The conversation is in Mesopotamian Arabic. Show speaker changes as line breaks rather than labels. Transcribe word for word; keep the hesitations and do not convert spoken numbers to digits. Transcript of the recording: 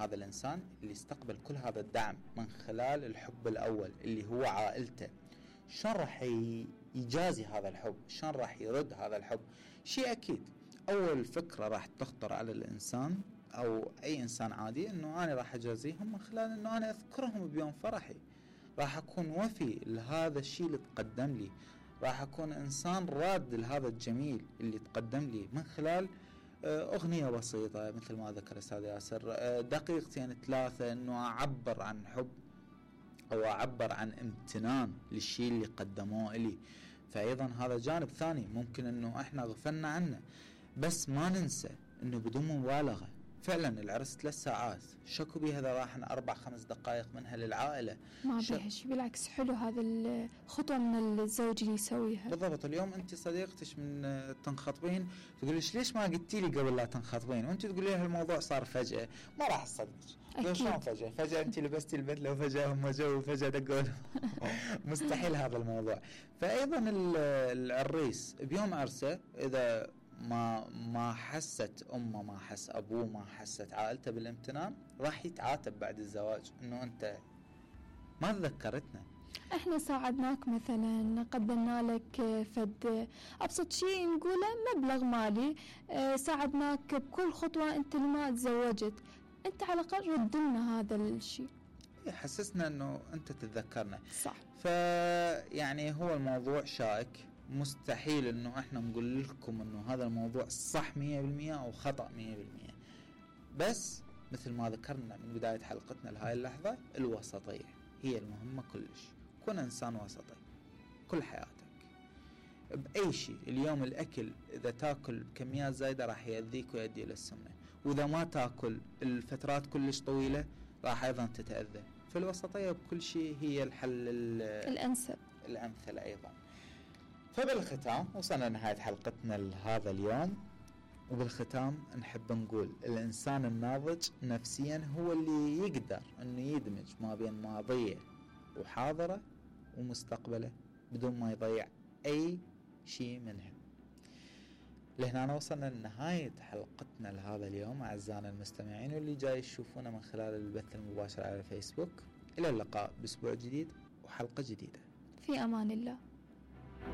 هذا الإنسان اللي استقبل كل هذا الدعم من خلال الحب الأول اللي هو عائلته، شلون راح يجازي هذا الحب؟ شلون راح يرد هذا الحب؟ شيء أكيد أول فكرة راح تخطر على الإنسان أو أي إنسان عادي أنه أنا راح أجازيهم من خلال أنه أنا أذكرهم بيوم فرحي، راح أكون وفي لهذا الشيء اللي تقدم لي، راح أكون إنسان راد لهذا الجميل اللي تقدم لي من خلال أغنية بسيطة مثل ما ذكر أستاذ ياسر، دقيقتين ثلاثة أنه أعبر عن حب أو أعبر عن امتنان للشيء اللي قدموه لي. فأيضا هذا جانب ثاني ممكن أنه إحنا غفلنا عنه، بس ما ننسى أنه بدون مبالغة فعلا العرس ثلاث ساعات شكو بي هذا راح أربع خمس دقائق منها للعائلة،
ما بيها شيء، بالعكس حلو هذا الخطوة من الزوج اللي يسويها.
بالضبط. اليوم أنت صديقتش من تنخطبين تقوليش ليش ما قلتي لي قبل لا تنخطبين، وأنت تقولي لها الموضوع صار فجأة، ما راح تصدقك. شلون فجأة؟ فجأة أنت لبستي البدلة وفجأة هم جو وفجأة دقوا مستحيل هذا الموضوع. فأيضا العريس بيوم عرسه إذا ما ما حست أمه، ما حس أبوه، ما حست عائلته بالامتنان، راح يتعاتب بعد الزواج إنه أنت ما تذكرتنا.
احنا ساعدناك مثلا، قدمنا لك فد ابسط شيء نقوله مبلغ مالي، اه ساعدناك بكل خطوة انت لما تزوجت، انت على الاقل رد لنا هذا الشيء،
يحسسنا انه انت تتذكرنا.
صح.
فيعني هو الموضوع شائك، مستحيل انه احنا نقول لكم انه هذا الموضوع صح مية بالمية او خطأ مية بالمية، بس مثل ما ذكرنا من بداية حلقتنا لهاي اللحظة، الوسطية هي المهمة كلش. كن انسان وسطي كل حياتك بأي شيء. اليوم الأكل إذا تاكل بكميات زايدة راح يأذيك ويؤدي إلى السمنة، وإذا ما تاكل الفترات كلش طويلة راح أيضا تتأذى. فالوسطية بكل شيء هي الحل
الأنسب
الأمثل أيضا. فبالختام وصلنا لنهاية حلقتنا لهذا اليوم، وبالختام نحب نقول الإنسان الناضج نفسيا هو اللي يقدر أنه يدمج ما بين ماضيه وحاضره ومستقبله بدون ما يضيع أي شيء منهم. لهنا وصلنا لنهاية حلقتنا لهذا اليوم أعزائنا المستمعين واللي جاي يشوفونا من خلال البث المباشر على الفيسبوك. إلى اللقاء بأسبوع جديد وحلقة جديدة.
في أمان الله.